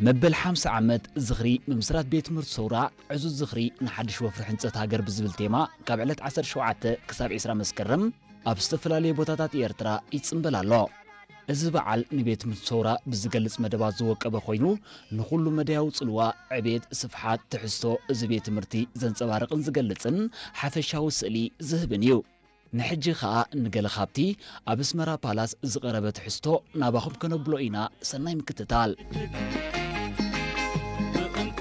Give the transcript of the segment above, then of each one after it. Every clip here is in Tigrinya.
መበል ሓምሳ ዓመት ዝኽሪ ምምስራት ቤት ትምህርቲ ሰውራ ዕዙዝ ዝኽሪ ንሓድሽ ወፍሪ ሕንጸት ሃገር ብዝብል ቴማ ካብ ዕለት ዓሰርተ ሸውዓተ ክሳብ ዕስራ መስከረም ኣብ ዝተፈላለየ ቦታታት ኤርትራ ይጽንበል ኣሎ። እዚ በዓል ንቤት ትምህርቲ ሰውራ ብዝገልጽ መደባት ዝወቀበ ኮይኑ ንኹሉ መዳያዊ ጽልዋ፣ ዕቤት፣ ስፍሓት፣ ትሕዝቶ እዚ ቤት ትምህርቲ ዘንጸባርቕን ዝገልጽን ሓፈሻዊ ስእሊ ዝህብን እዩ። ንሕጂ ኸኣ ንገለ ካብቲ ኣብ ኣስመራ ፓላስ ዝቐረበ ትሕዝቶ ናባኹም ከነብሎ ኢና። ሰናይ ምክትታል። ብእንኮ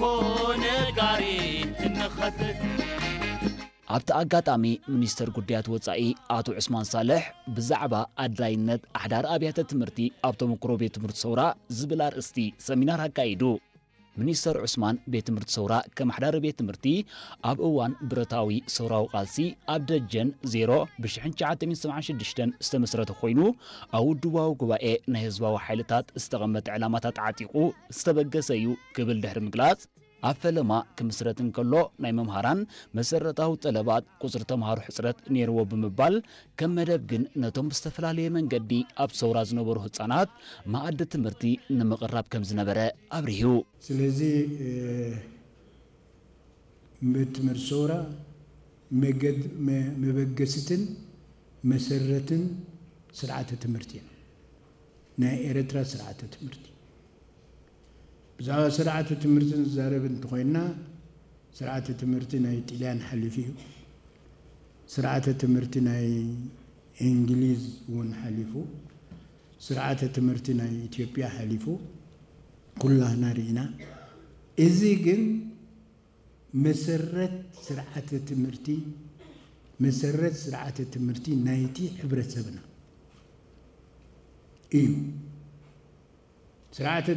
ነጋሪት እንኸትት። ኣብቲ ኣጋጣሚ ሚኒስተር ጉዳያት ወጻኢ ኣቶ ዑስማን ሳልሕ ብዛዕባ ኣድላይነት ኣሕዳሪ ኣብያተ ትምህርቲ ኣብ ተመክሮ ቤት ትምህርቲ ሰውራ ዝብል ኣርእስቲ ሰሚናር ኣካይዱ። ሚኒስተር ዑስማን ቤት ትምህርቲ ሰውራ ከም ኣሕዳሪ ቤት ትምህርቲ ኣብ እዋን ብረታዊ ሰውራዊ ቃልሲ ኣብ ደጀን ዜሮ ብሽሕን ትሽዓተ ሚእትን ሰብዓን ሽዱሽተን ዝተመስረተ ኮይኑ ኣብ ውድባዊ ጉባኤ ናይ ህዝባዊ ሓይልታት ዝተቐመጠ ዕላማታት ዓጢቑ ዝተበገሰ እዩ ክብል ድሕሪ ምግላጽ ኣብ ፈለማ ክምስረት እንከሎ ናይ መምሃራን መሰረታዊ ጠለባት ቁጽሪ ተምሃሮ ሕጽረት ነይርዎ ብምባል ከም መደብ ግን ነቶም ብዝተፈላለየ መንገዲ ኣብ ሰውራ ዝነበሩ ህጻናት መኣዲ ትምህርቲ ንምቕራብ ከም ዝነበረ ኣብሪሁ። ስለዚ ቤት ትምህርቲ ሰውራ መበገስትን መሰረትን ስርዓተ ትምህርቲ እዩ። ናይ ኤርትራ ስርዓተ ትምህርቲ ብዛዕባ ስርዓተ ትምህርቲ ንዛረብ እንተኾይንና ስርዓተ ትምህርቲ ናይ ጥልያን ሓሊፉ እዩ። ስርዓተ ትምህርቲ ናይ እንግሊዝ እውን ሓሊፉ፣ ስርዓተ ትምህርቲ ናይ ኢትዮጵያ ሓሊፉ ኩላህና ርኢና። እዚ ግን መሰረት ስርዓተ ትምህርቲ መሰረት ስርዓተ ትምህርቲ ናይቲ ሕብረተሰብና እዩ። ስርዓተ